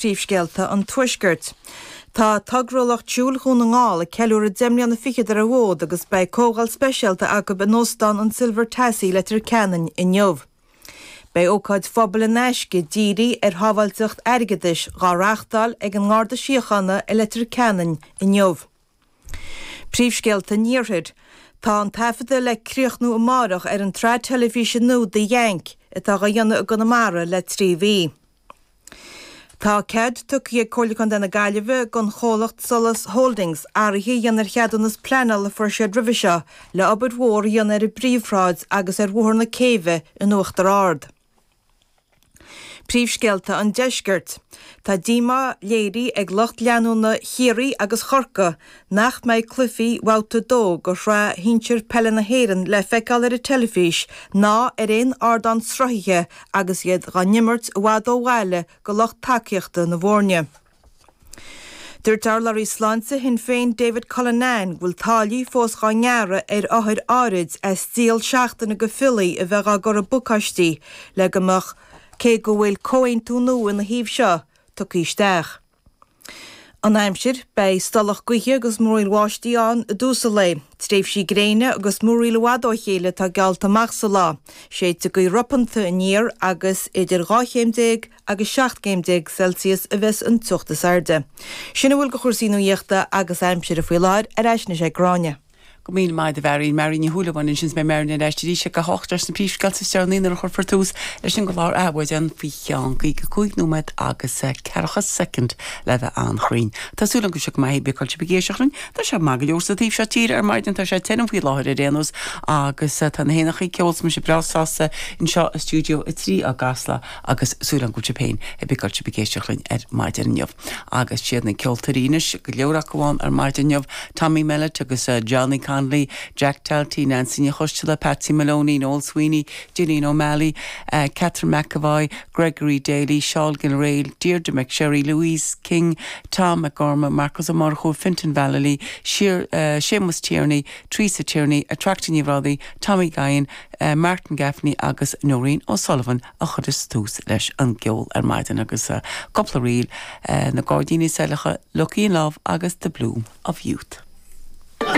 Príomhscéalta an Tuaiscirt. Tá Togra Lucht Siúil Dhún na nGall ag ceiliúradh 10 mbliana fichead ar an bhfód agus beidh comhdháil speisialta acu in Óstán an Silver Tassie, Leitir Ceanainn inniu. Beidh ócáid phobail in aisce dírithe ar shábháilteacht airgeadais dhá reáchtáil ag an nGarda Síochána i Leitir Ceanainn inniu. Príomhscéalta an Iarthair. Tá an taifeadadh le críochnú amáireach ar an tsraith teilifíse nua The Yank atá dhá dhéanamh i gConamara le 3 mhí. Tá cead tugtha ag Comhairle Contae na Gaillimhe don chomhlacht Solas Holdings athruithe a dhéanamh ar cheadúnas pleanála a fuair siad roimhe seo le obair mhór a dhéanamh ar an bPríomhshráid agus ar Bhóthar na Céibhe in Uachtar Ard. Príomhscéalta an Deiscirt. Tá díomá léirithe ag lucht leanúna Chiarraí agus Chorcaí nach mbeidh cluichí Bhabhta 2 de Shraith Shinsir Peile na hÉireann le feiceáil ar an teilifís ná ar aon ardán sruthaithe agus iad dhá n-imirt i bhfad ó bhaile do lucht tacaíochta na bhfoirne. Dúirt urlabhraí sláinte Shinn Féin David Cullinane go bhfuil táillí fós dhá ngearradh ar othair áirid as díol seachtaine de phiollaí a bheith dhá gcur i bpacáistí le go mbeadh cé go bhfuil comhaontú nua ina thaobh seo tugtha isteach. An aimsir, Beidh stolladh gaoithe agus múraíl bháistí ann i dtús an lae. Tréimhsí gréine agus múraíl i bhfad ó chéile atá geallta amach sa lá. Séidfidh gaoth ropanta aniar agus idir 12 chéim agus 17 gcéim Celsius a bheas an teocht is airde. Sin a bhfuil de chúrsaí nuaíochta agus aimsire faoi láthair. Ar ais anois ag Gráinne. Go míle maith agat a Mharion. Marion Ní Shúilleabháin ansin is beidh Marion ar ais arís ag a hocht leis na príomhscéalta is deireanaí nuair a chuirfear tús leis an gclár Adhmhaidin faoi cheann 55 nóiméad agus ceathracha soicind le bheith an-chruinn. Tá súil agam go bhfuil sibh go maith cibé cá bhfuil sibh ag éisteacht linn. Tá sé maith go leor sa taobh seo tíre ar maidin, tá sé tirim faoi láthair ar aon nós agus tá na héanacha ag ceol is mise breá sásta anseo i Stiúideo 3 i gCasla agus súil agam go bhfuil sibh féin cibé cá bhfuil sibh ag éisteacht linn ar maidin inniu. Agus siad na ceoltóirí anois, go leor acu ann ar maidin inniu, Tommy Mellett agus Johnny Connolly, Jack Talty, Nancy Ní Choisteala, Patsy Maloney, Noel Sweeney, Gillian O'Malley, Catherine McEvoy, Gregory Daly, Seán Gilrail, Deirdre McSherry, Louise King, Tom McGorman, Marcus Ó Murchú, Fintan Vallely, Séamus Tierney, Teresa Tierney, Attracta Ní Bhrádaigh, Tommy Guion, Martin Gaffney agus Nóirín O'Sullivan. a chuireas tús leis an gceol ar maidin agus cúpla ríl, Na Gairdíní Saileacha, Lucky in Love agus The Bloom of Youth.